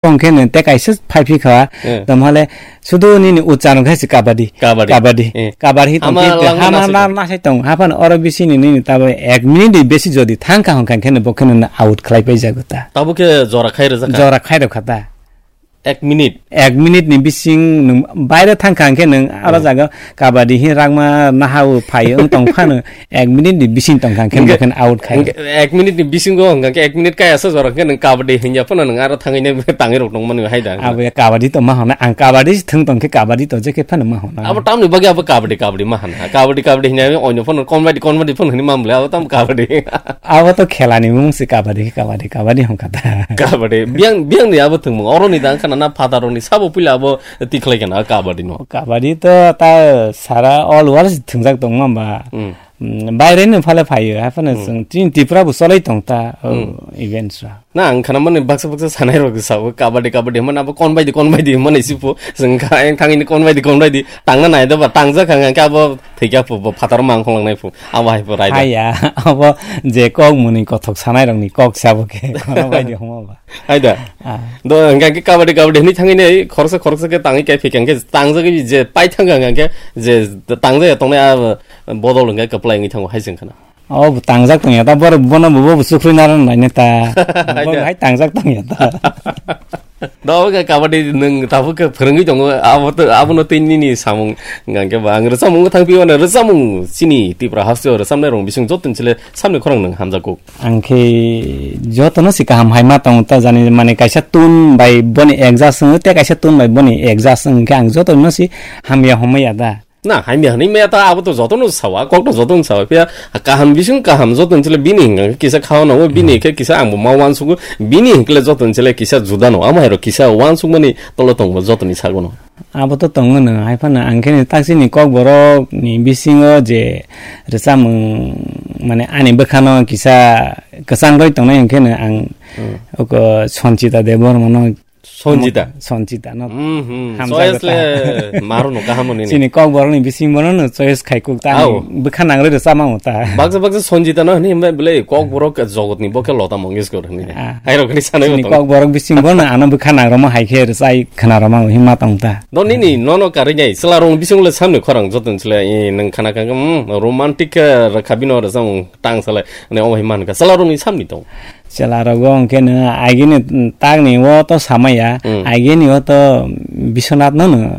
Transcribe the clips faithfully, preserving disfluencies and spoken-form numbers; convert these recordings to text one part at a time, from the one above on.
Tong khe nw te kaisa phai phi kha, Eh. Tamo hale sudu nini ucharong khe se kabadi. Kabadi. Kabadi. Eh. Kabadi tong Ama khe te langma hama nasai na tong. Nasai tong. Hapan oro bisi ni nini tabo ek minute ni besi jodi thang kha hong kha khe nw bo khe nw out khlai pai jago ta. Tabo khe jora khai rwjak kha? Jora khai rw kha ta. Ek minute? Ek minute ni bising nung baire thang kha khe nung aro Hmm. jaga kabadi hi rangma nahao phai wng tong phano ek minute ni bising tong kha khe Hingke, bo khe out khai. Hingke ek minute ni bisingo hong kha khe ek minute kaya sa jora khe nung kabadi hinya phano nung aro thangwi ne tangwi rok tong mani hai da. Abo ya kabadi to ma hona, ang kabadi si thung tong khe kabadi to je khe phano ma hona. Abo tamni bagi abo kabadi, kabadi ma hana. Kabadi, kabadi hinya oino phano comedy, comedy phano hini mamle abo tam kabadi. Abo to khela ni mung si kabadi, kabadi, kabadi hong kha ta. Kabadi, biang, biang ni abo thung mung. Oro ni dang khana na phataro ni sabo pila abo tikhlai kana kabadi no. Kabadi to ta sara all world thungjak tong ma ba. Hmm. Mm, baire no phale phaio, haphano Hmm. chwng chini Tripura bo cholai tong ta, oh, Hmm. events ra. Na, ang khana mani baksa baksa sanai rok sao, kabadi, kabadi, mani abo kon bai di, kon bai di, mani si phu, chwng kha, ang thangini kon bai di, kon bai di, tangna nai da ba, tangjak kha, ang khe abo thwikya phu, bo phataro mang khong lang nai phu, abo hai phu rai da. Haya, abo je kok muni kothok sanai rok ni kok se abo khe, kono bai di homa ba. Hai da. Ah. Do, hingke kabadi, kabadi hinwi thangwi nei, khoroksa, khoroksa khe tangwi kai phikha, hingke tangjagwi je pai thangkha, hingke je tangjaya tongnai a bodol hingke kwplai wngwi thango, hai se wngkha na. Oh, bo tangjak tongya ta, bor-, bono bo, bo, bo sukrui naro naina ta. Hai Bo da. Hai tangjak tongya ta. Do, hingke kabadi nwng tabuk khe phwrwngwi tongo, abo to, abono tei nini samung, hingke ba ang rwchapmung thang piyo na rwchapmung chini Tripura hasteo rwchapnai rong bising joto ni chwle samni khorang nwng hamjakgo. Ang khe jotono se kaham hai ma tongo ta jani, mane kaisa tune bai boni adjust wng tei kaisa tune bai boni adjust wng khe ang jotono se hamya homwi ya da. Na, hamya hwnwi maya ta abo to jotono sawa, kok to jotono sawa, phiya kaham bising kaham joto ni chwle bini hwnka khe kisa khao nango, bini khe kisa ang bo ma uansugo, bini hwnka le joto ni chwle kisa juda no, amo hai rok kisa uansukmani tolo tongo joto ni sagono. Abo to tongo no, hai phano ang khe ni taksini kokborok ni bisingo je rwchapmung, mane ani bwkhano kisa kwchang rwi tongnai hwn khe no ang Hmm. oko Sanchita Debbarma no Sanchita? Sanchita no Hmm, hmm. hamjak Choice ta. Le maro no kaham ni. Chini kokborok ni bisingo no choice khai kuk ta Ao. Ani bwkha nang rwi rwchapma ta. Baksa baksa Sanchita no hwnwi hwnba bwle kokborok jogotni bo khe Lata Mangeshkar hwnwi. Ah. Hai rok ni sanai Chini tong. Kokborok bisingo no ano bwkha nang rwma hai khe rwchai khna rwma hima tong ta. Do nini nono karwi nai, chwla rong bising le samni khorang joto ni chwla, eh, nwng khana kha, hmm, romantic, eh, rwkha bino rwchapmung tang salai, ne omo hai man kha, chwla rong ni samni tong. Chwla rogo hwnkhe no agini tagni o to samaya, Hmm. agini o to Biswanath no no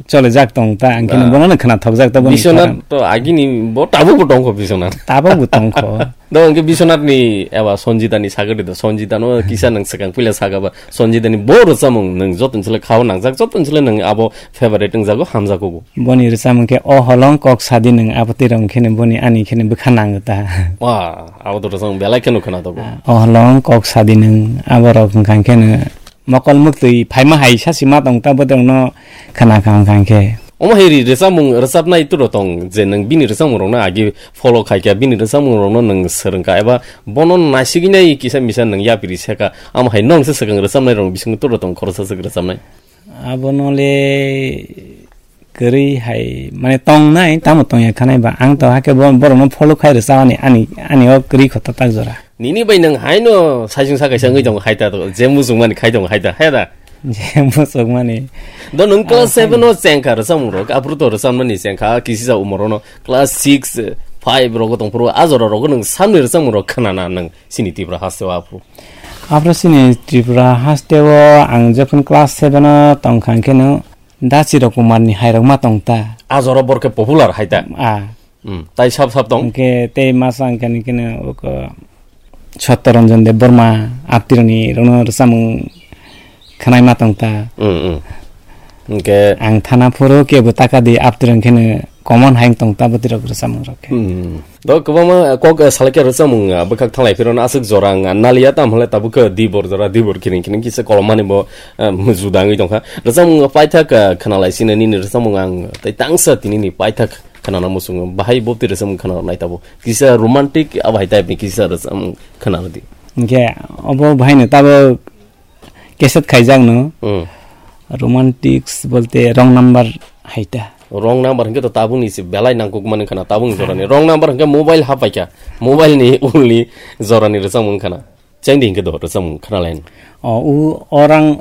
chole jak tong ta, ang khe no Ah. Bono no khna thok jak ta, boni Biswanath khorang. To agini bo tabuk bo tong kho Biswanath. Tabuk bo tong kho. Do hwnkhe Biswanath ni eba Sanjita ni sagadi do, Sanjita no kisa nwng swkang puila saga ba, Sanjita ni bo rwchapmung nwng joto ni chwla khao nangjak, joto ni chwla nwng abo favorite wngjago, hamjago bo. Boni rwchapmung khe O Holong Kok Sadi Nwng, abo twi rong khe no boni ani khe no bwkha nango ta. Wa, abo to rwchapmung belai kheno khwna tongo. Ah, O Holong Kok Sadi Nwng, abo rok wngkha khe no mokol muktwi phaima hai sa sima tong ta, bo tong no khwna kha wngkha khe. Omo hai ri rwchapmung, rwchapnai turo tong je nwng bini rwchapmung rok no agi follow khai kha, bini rwchapmung rok no nwng swrwng kha eba bono naisigwi nai kisa misa nwng yapri se kha, amo hai nwng se swkang rwchapnai rok bisingo turo tong khoroksa swk rwchapnai. Abono le kwrwi hai, mane, tongnai, tamo tongya khanai ba, ang to hakhe bo-, borokno follow khai rwchapani, ani, ani o kwrwi kho tatak jora. Nini bai nwng haino saisung sa kaisa wngwi tongo hai ta to, je muchungmani khai tongo hai ta, he da? Je muchungmani. Do nwng class Ah, seven o chengkha rwchapmung rok, aphuru to rwchapmani chengkha, kisisa umor ono class six, five rogo tongphuru, a jora rogo nwng samni rwchapmung rok khwnana nwng chini Tripura hasteo aphuru. Aphuru chini Tripura hasteo ang jephun class seven o tongkha hwnkhe no Dachiro Kumar ni hairok ma tong ta. A jora borok khe popular hai ta. Ah. Hmm. Tai sab sab tong. Hwnkhe tei masa hwnkhe ni keno oko Satya Ranjan Debbarma, Aptirani rokno rwchapmung khwnai ma tong ta. Hmm, hmm. Hwnkhe ang thana phuru kebo taka di Aptirani keno common hai tong ta bwtwi rok rwchapmung rok khe. Hmm. Do kwbangma kok, eh, salai khe rwchapmung, ah, bwkhak thanglai phirwno aswk jora wng, ah, naliya tamo hwnle tabuk khe dibor jora, dibor kiring kiring kisa kolomani bo, eh, juda wngwi tongkha. Rwchapmung paithak, ah, khwnalai sino nini rwchapmung ang tei tangsa tinini paithak khwnana muchungo. Bahai bopti rwchapmung khwnanai tabuk. Kisa romantic abo hai type ni kisa rwchapmung khwnarwdi. Hwnkhe obo bahaino tabuk cassette khaijakno. Hmm. Romantics bolte wrong number hai ta. Wrong number hwnkhe to tabukni se belai nangkukmani khana, tabukni jorani. Wrong number hwnkhe mobile hapaikha. Mobile ni ulni jorani rwchapmung khana. Chengdi hwnkhe do rwchapmung khana line. O, u, orang